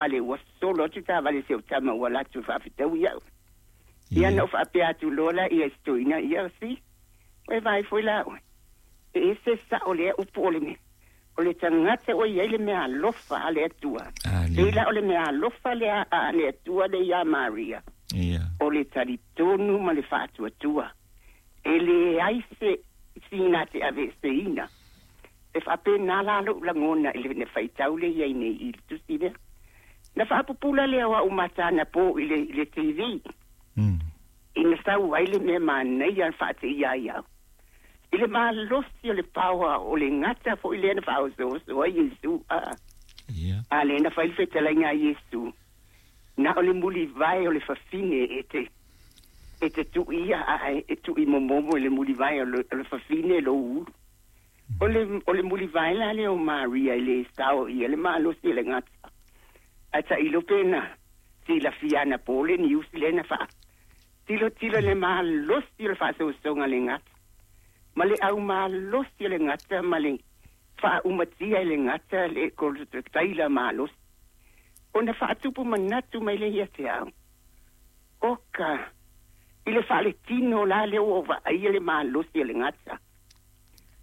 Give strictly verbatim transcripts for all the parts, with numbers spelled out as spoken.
Ale ua solo atu taavale se o tama ua latou faafetau ia'u. Ia na ou faapea atu loa laia i si toeaina, ia si, ua e vaai foi la oe, e ese sa'o lea upu o le mea, o le tagata ua i ai le meaalofa a le Atua. Pei la o le meaalofa lea a le Atua lea iā Maria, o le talitonu ma le faatuatua. E leai se sina te aveeseina. E faapena la lo'u lagona i le faitau lea i ai nei i le tusi lea. Na faapupula lea o a'u mata anapo i le, i le T V. Mm. Ina sau ai le mea manaia faateia ai au. I le malosi o le paoa o le gata fo'i lea na faaosooso ai Iesu a. Yeah. A lea na fai le fetalaiga a Iesu. Na o le mulivae o le fafine e te e te tu'uia ae e tu'imomomo i le mulivae o le, o le fafine lou ulu. O le, o le mulivae la lea o Maria i le sao ia le malosi o le gata. Ae ta'ilo pe na silafia anapo le niusi lea na faa tilotilo le malosi o le faasoasoga le gata. Ma le aumalosi o le gata ma le faaumatia i le gata le taila malosi. Ona faatupu manatu mai le ia te au. Oka, i le faaletino la lea ua vaaia le malosi o le gata.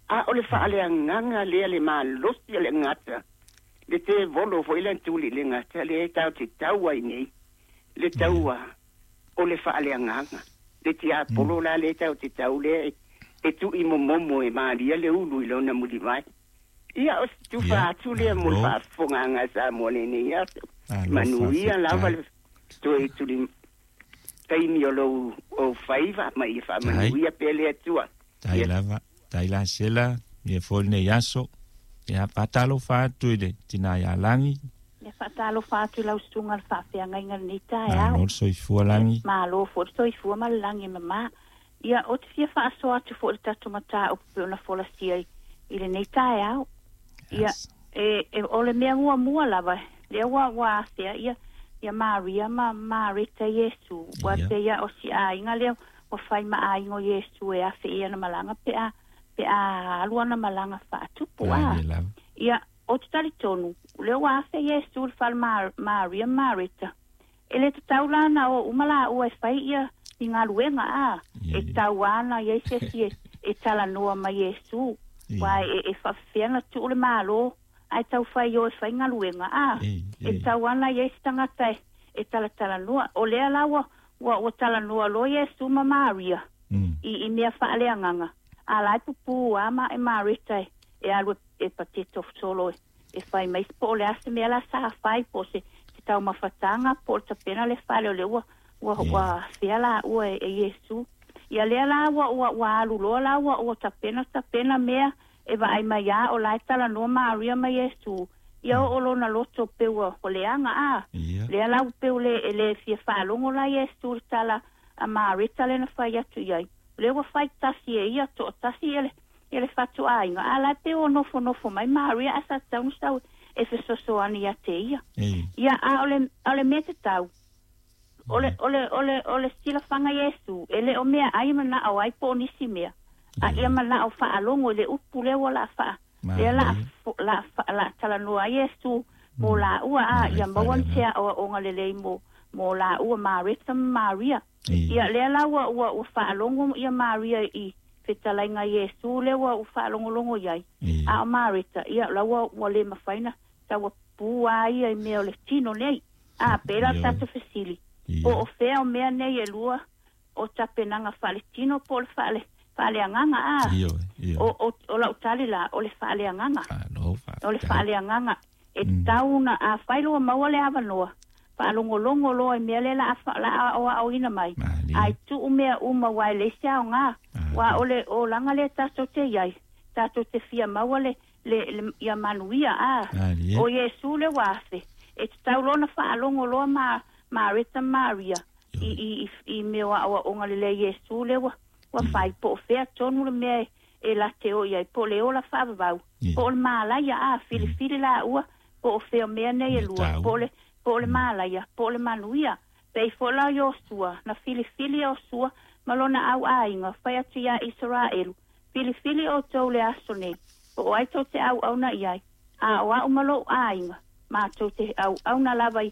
A o le faaleagaga lea le malosi o le gata. Le tevolo foi le tuli le gata le tau te tau ai nei. Le taua o le faaleagaga. Le tiapolo la le tau te tau lea e tu'imomomo e malia le ulu i lona mulivai. Ia o se tufa atu lea mo le faafofogaaga sa mo lenei aso. Manuia lava le toe tuli taimi o lou o faiva ma ia faamanuia pea le Atua. Tai lava, tai la sela, ia foi lenei aso. Ia faatalofa atu i le tina ia Lagi. Ia faatalofa atu i lau susuga le faafeagaiga lenei taeao. Malo le soifua Lagi. Malo foi le soifua ma le lagi e mamā. Ia o te fia faasoa atu foi le tatou mataupu pe ona folasia i lenei taeao. Ia e, e o le mea muamua lava lea ua ua afea ia ia Maria ma Mareta Iesu ua Ia. te ia o si aiga lea ua fai ma aiga o Iesu e afe ia na malaga pe a pe a alu ana malaga faatupu a. Malie lava. Ia o te talitonu lea ua afe Iesu le fale Ma- Maria ma Mareta. E le tatau la na o uma la ua e fai ia i galuega a. Ia, E ia. tau ana ia i se isi e, e talanoa mai Iesu. Ia. Ua e, e faafefea na tuu le malo ai tau fai o e fai galuega a. Ei, E ei. tau ana ia i se tagata e, e talatalanoa. O lea la ua, ua, ua talanoa loa Iesu ma Maria Mm. i, i mea faaleagaga. A la e pupū a ma e Mareta e, e alu e, e pateto solo e, e fai mai se po o le a se mea la sa fai po se, se taumafataga po o le tapena le fale o le ua ua Ia. ua afea la ua e, e Iesu. Ia lea la ua ua ua alu loa la ua ua tapena tapena mea e vaai mai a o la e talanoa Maria ma Iesu. Ia o o lona loto pe ua o leaga a. Ia. Lea la ua peu le e le fia faalogo la Iesu le tala a Mareta le na fai atu iai. Lea ua fai tasi e ia to'atasi e le e le fatuaiga. A la e pe ua nofonofo mai Maria ae sa tatau ona sau e fesoasoani ia te ia. Ei. Ia a o le a o le mea tatau. O le o le o le o le silafaga Iesu e le o mea ai mana'o ai po o nisi mea. A ia mana'o faalogo i le upu lea ua la faa lea la Malie. la la talanoa ai Iesu mo laua a Ia, ia maua fale se aoaoga lelei mo mo laua Mareta ma Maria. Ei. Ia lea la ua ua ua faalogo ia Maria i fetalaiga Iesu lea ua ua faalogologo iai. Ei. A o Mareta ia la ua ua le mafai na taua pua ia i mea o le tino nei. A pe la Ia. tatou fesili. Ia. Po o fea o mea nei e lua o tapenaga faaletino po o le faale faaleagaga a. Ioe, ioe. O o o lau tali la o le faaleagaga. Malo, O le faafetai. faaleagaga e Mm. tau na a fai loa maua le avanoa. Faalogologo loa i mea lea la a la aoaoina mai. Malie. Ai tuu mea uma ua e leai se aoga. Ua o le olaga lea tatou te iai. Tatou te fia maua le le, le ia manuia a. Malie. O Iesu le ua afe. E tatau loa na faalogo loa ma Mareta Maria i i i, i mea o aoaoga lelei Iesu le ua ua fai po o fea tonu le mea e, e late o iai po o le ola faavavau. Ia. Po o le malaia a filifili la ua po o fea o mea nei e Mea lua tau. po o le po o le malaia po o le manuia. Pei foi la Iosua na filifili Iosua ma lona au aiga fai atu ia Israelu. Filifili outou le aso nei po o ai tou te auauna iai. A o a'u ma lou aiga Matou te auauna lava i